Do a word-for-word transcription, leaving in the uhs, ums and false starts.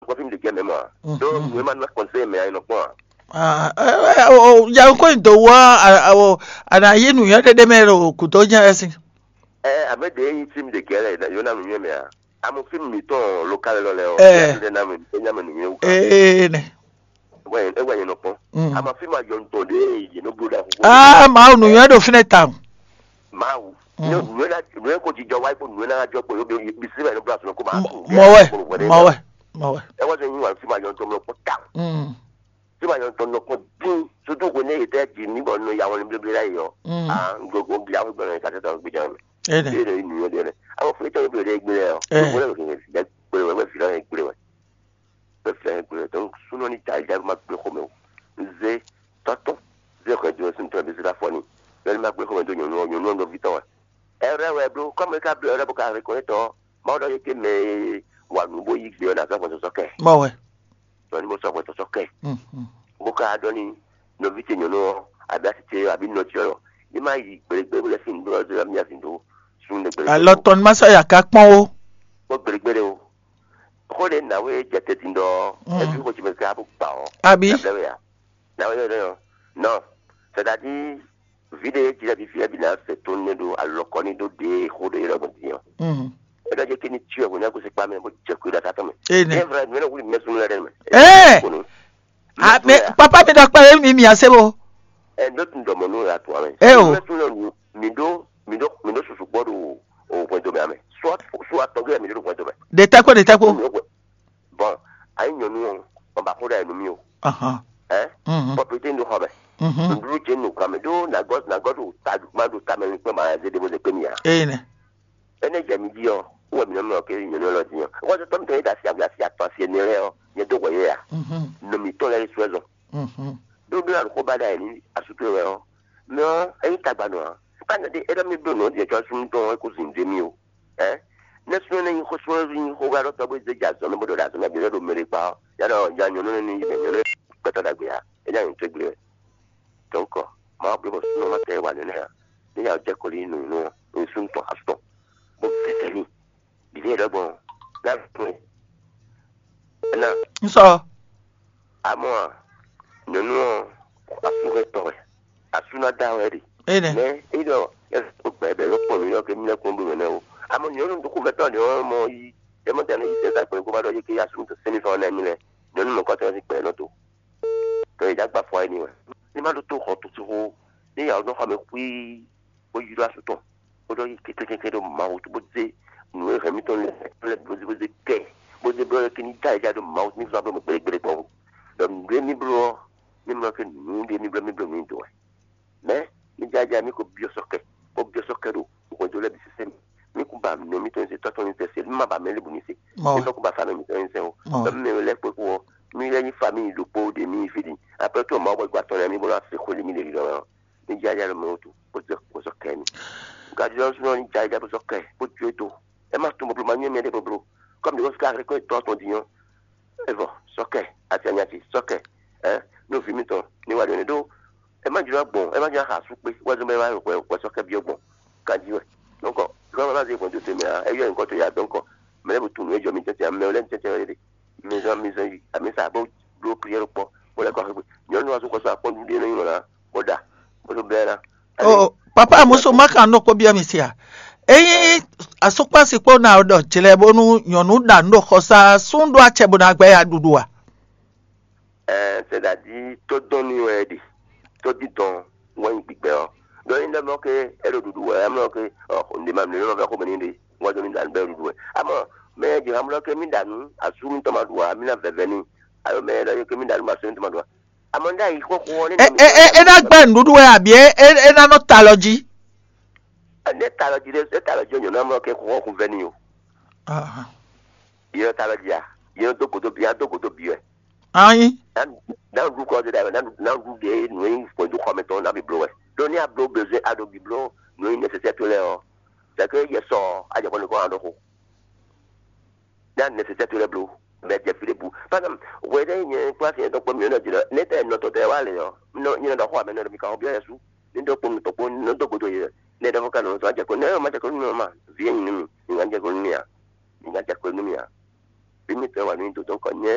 kɔfí mi ɖe jɛ mɛ mɔ a. Ɖó nǔ e ma ná kɔnsɛ́ mɛ a nɔ kpɔn a. Ah, eh, eh, o, o, ya ko nyi do wa, a, a, o, a na yi nǔnywɛ́ ɖé ɖé mɛ ɖo gǔdo jɛ́n wɛ sín. Ɛ, abe ɖe yi fí mi ɖe gɛ́ lɛ, yó ná nǔnywɛ́ mɛ a. Amu fí mi tɔn lokal lɔ lɛ ɔ, Eh. Ya ɖe ná mi, é ná mi nǔnywɛ́ wú. Ee nɛ. Wɛ, é wɛ nyɛ nɔ kpɔn. Mm. Ama fí ma yɔ ntɔn ɖe yě nɔ bló ɖa. Ah, Mawu nǔnywɛ́ ɖo fínɛ́ tawun. Mawu. Mm. Nǔnywɛ́ ná, nǔnywɛ́ ko jijɔ wáyé kó nǔnywɛ́ ná jɔ kpé yó bí, bí sí wɛ nɔ bló asɔnɔ kó ma. Mɔ wɛ, mɔ wɛ, mɔ wɛ. Ɛ wá sɛ yín wà fí ma yɔ ntɔn mlɔ kpɔ́n tawun. Mm. Tí wàá yɔ tɔn nɔ kpɔn dín, sutu ko ne yetɛ dzi mi bɔ nɔ ya wɔn blé blé la yi ɔ. Mm. Ah, n go go bia ko gbɛn ka tɛ tɔn gbɛn jɛ mɛ. Ene. Ye de nu ye de ne. Awo fle tɔn blé de gbé lɛ ɔ. Eh. Ko le ke de gbé wɛ fi la gbé wɛ. Be fɛ gbé. Donc sunɔ ni ta ja ma gbé ko mɛ o. Ze tɔtɔ. Ze ko de sun tɔ bi se la fɔ ni. Bɛ ma gbé ko mɛ do nyɔnu nyɔnu nɔ vi tɔ wɛ. Ɛrɛ wɛ blo, kɔmi ka blé ɛrɛ bo ka reconnaître ɔ. Ma ɖɔ ye ke mɛ wa nu bo yi gbé ɔ na zɔ gbɔn sɔsɔ kɛ. Mɔ wɛ. Tɔ ni mo sɔ hwɛ tɔsɔ kɛ. Mhm. Bó ka ɖɔ ni nɔví ce nyɔnu ɔ, abi asi ce ɔ, abi nɔ ce ɔ, ní ma yi gbelegbele bó lɛ sin dó ɔ́, mía sin dó sun ɖe gbelegbele. Alɔ tɔn ni ma sɔ ya ka kpɔn o. Kpɔn gbelegbele o. Xó ɖe nǎwe jɛ te din ɖɔ Mm. Evi xó ce mɛ ka bó gba ɔ. Abi. Nabla wɛ ya. Nǎwe yɔ ɖɔ nɔ. C'est-à-dire, vǐ ɖé jlɛ́ fífí ɛ bǐ ná se tónú ɖó alɔkɔ ní ɖó ɖě xó ɖé yɔ́ gbɔn din ɔ́. Mhm. É ɖɔ jɛ kí ní cyɔ hwě ná gosín kpa mɛ bó jɛ kú ɖo atá tɔn mɛ. Ene. Yɛ vla mi lɛ wuli mɛ sunu lɛ ɖe mɛ. Ee. Kunu. A, mi, papa mi ɖɔ kpɛlɛ mi mi ase bo. Ɛ ndo tun dɔmɔ nu la tun amɛ. Ee o. Mɛ sunu lɛ nu mi ɖó mi ɖó mi ɖó susu gbɔ ɖo o hwɛndo mɛ amɛ. Soit soit tɔgɛ mi ɖó hwɛndo mɛ. De tɛkwe de tɛkwe. Bon, ayi nyɔnu ɔ, ɔn ba xó ɖe nu mi o. Ahan. Ɛ. Mhm. Propriété ndo xɔ mɛ. Mhm. Nɖuɖu dze nu kame ɖó nagɔ nagɔ ɖo ta ma ɖo tamɛ mi kpɛ ma zé ɖe bo zé kpɛ mi a. Ee nɛ. Ene jɛ mi di ɔ, wɔ mi nɔ mɛ ɔkɛ nyɔnu lɔ di ɔ. Wɔ tɔ mi tɔ yi da si agbe asi atɔ asi ene lɛ ɔ, nyɛ do wɔ ye a. Mhm. Nɔ mi tɔ lɛ su ɛzɔ. Mhm. Ɖó ɖó aɖo xó ba ɖa yi ni asutu wɛ ɔ. Mɛ ɔ, eyi tagba nɔ a. Kpa nɔ de e ɖɔ mi ɖo nɔ de tsɔ sun tɔn e ko zin de mi o. Ɛ? Ne sun ne yi xó sun ne yi xó ga ɖɔ tɔ bo ze ja zɔn ne bo ɖo ɖa zɔn ne bi ɖo mɛ ɖe kpa ɔ. Ya ɖɔ ja nyɔnu ne ni yi nyɔnu ne kpɛtɔ ɖagbe a. E ja nyɔnu tɛ gbe. Donc, ma bló bɔ súnnu ma tɛ wà nínú ya. Ní ya jẹ́ kó lí nù nù ní súnnu tɔn asú tɔn. Bó fẹsẹ̀ ní. Bìbí yẹn dɔgbɔn. Láti fún ẹ. Ẹ na. N sɔ. Àmọ́ à, nínú ọ̀, asú rẹ̀ tọ̀ ẹ̀. Asú ná dá ọ̀ ẹ̀ dì. Ene. Mɛ é ɖɔ é ko gbɛ bɛ ló kpɔn mí lɔ ké mí lɛ́ kpɔn ɖo mɛ nɛ́ o. Amɔ nyɔ̌nu ɖokpó vɛtɔ́ ɖě ɔ́ mɔ yí é mɔ tɛnɛ yi sɛ́n sa gbɛ̌ kó má ɖɔ yí ké yá súnnu tó sɛ́n mì fɛ́n ɔ́ nɛ́ mí lɛ́. Nyɔ̌nu mɔ̌kɔ́tɔn ɔ́ sín gbɛ nɔ tó. Tɔ è dǎ gba fɔ éní wɛ. Ní má ɖó tó xɔ tó xó ní yà ɔ́ nɔ xɔ mɛ xwíí bó ylɔ́ asú tɔn bó ɖɔ yí kékékéké ɖo Mawu tó bó zé nǔ e hɛn mítɔn lɛ́ɛ lɛ́ɛ bó zé bó zé kɛ bó zé blɔ́ lɛ́ɛ ké ní dá yɛ já ɖo Mawu ní zɔ́n bló mɛ gbélégbélé gbɔn. Ɖɔ nǔɖé mí bló ɔ́, mí mlɔ́ ké nǔɖé mí bló mí bló nǔ nyi dǒ wɛ. Mɛ, mi jajɛ mi ko byɔ́ sɔ́ kɛ, bó byɔ́ sɔ́ kɛ ɖo hwɛndo lɛ́ɛ bǐ sésé mɛ. Mi kún ba nɔ mitɔn nyi se, tɔ́ tɔn nyi se, se, mi ma ba mɛ lɛ́ɛ bǔ nyi se. Mɔ Mi wɛ. Tɔ́ kún ba famille mitɔn nyi se o. Mɔ wɛ. Mɛ mi lɛ́ kpé kú ɔ, mi lɛ́ nyí famille ɖokpó ɖe mi yi fí ɖi. Après tout, Mawu bɔ gbà tɔn lɛ́ɛ mi bó ná se xó lě mi ɖe ɖiɖɔ mɛ ɔ. Mi jajɛ ɖo mɛ wutu, bó zɛ kó sɔ́ kɛ mi. Gǎ ɖiɖɔ súnɔ ní jajɛ bó sɔ́ kɛ, bó jó e do. Ɛ má tún bɔbló, ma nyɔ́ mɛ ɖé bɔbló. Kɔmi ɖě wọ́n sika rɛkɔ́ tɔ́ tɔn din ɔ́. Evɔ, sɔkɛ, asianyati, sɔkɛ, ɛ, nú vǐ mitɔn ní wá ɖo ne ɖó, ɛ má jló gbɔn, ɛ má jló xa sú kpé, wɛ zɔn bɛ wá wɛ wɛ sɔkɛ byɔ́ gbɔn, kanjí wɛ. Donc, gɔmɛ má zé gbɔn tó tɛmɛ a, ɛ yɔ nyǐkɔ tó ya donc, mɛ lɛ bu tunu ejɔ mi tɛtɛ, mɛ lɛ tɛtɛ wɛ ɖe, mi zɔn mi zɔn yi, ami sa bó bló prière kpɔ, bó lɛ kɔ xegbe, nyɔnu wa sún kɔ sɔ akpɔn ɖuɖu ɖe nɔ yi na, bó ɖa, bó tó bɛ́ ná. O, papa musu ma kan nɔ kpó byɔ́ mi sia. Eyin asukpasi kpó na ɖɔ jlɛ bónú nyɔ̌nu ɖa nǔ ɖo xɔsá sún ɖó acɛ bó ná gbɛ ya ɖuɖu a? Ɛɛ, c'est-à-dire tó dɔn ní wɛ ɖi, tó dídɔn wɛ nyí gbígbɛ ɔ. Ɖɔ nyí ɖɔ mɔ ke é ɖo ɖuɖu wɛ, mɔ ke ɔ, ǹdè ma mlɛ lɔ fɛ xó mɛ ní ɖe, wọ́n dɔn ní ɖa nǔ bɛ ɖuɖu wɛ. Amɔ mɛ jɛ hamlɔ ke mí ɖa nǔ, asú mítɔn ma ɖu a, mí ná vɛvɛ ní. Alo mɛ ɖɔ ke mí ɖa nǔ, asú mítɔn ma ɖu a. Amɔ ní ɖa yi xó xó ɔ ní. E e e e ná gbɛ nǔɖuɖu wɛ abi e e e ná nɔ ta lɔ jí? Ne ta lɔ jí ɖe, e ta lɔ jí ɔ, nyɔ̌nu amlɔ ke xɔ xɔ vɛ n'i o. Aha. Yɛ ta lɔ jí a, yɛ dó godo bi, a dó godo bi wɛ. Anyi. Na na ɖu kɔ de da wɛ, na na ɖu de nù yi fɔ do xɔmɛ tɔn na bi blo wɛ. Ɖo ni a blo besoin a ɖo bi blo nù yi nécessaire to lɛ ɔ. C'est que yɛ sɔ a jɛ kɔ ni kɔ a ɖo xo. Ní a nécessaire to lɛ́ bló, bɔ é jɛ fí ɖěbǔ. Par exemple, hwɛ ɖé nyɛ kpó asi nyɛtɔn kpó mǐ nɔ jlɔ́, nɛ̌ tɛ nɔ tɔn tɛ wá lě ɔ́, nɔ nyɛ nɔ ɖɔ xó amɛ nɔ ɖɔ mi ka xɔ byɔ́ yɛsu, ní ɖó kpó nutɔn kpó nɔ dó godo yɛ, nɛ̌ ɖɔ fó ka nɔ sɔ́ jɛ kó nɛ̌ ma jɛ kó nú mì ɔ́ ma, vǐ e nyi nú mì, mi ná jɛ kó nú mì a, mi ná jɛ kó nú mì a, vǐ mitɔn wà nú mì dodó kɔ nyɛ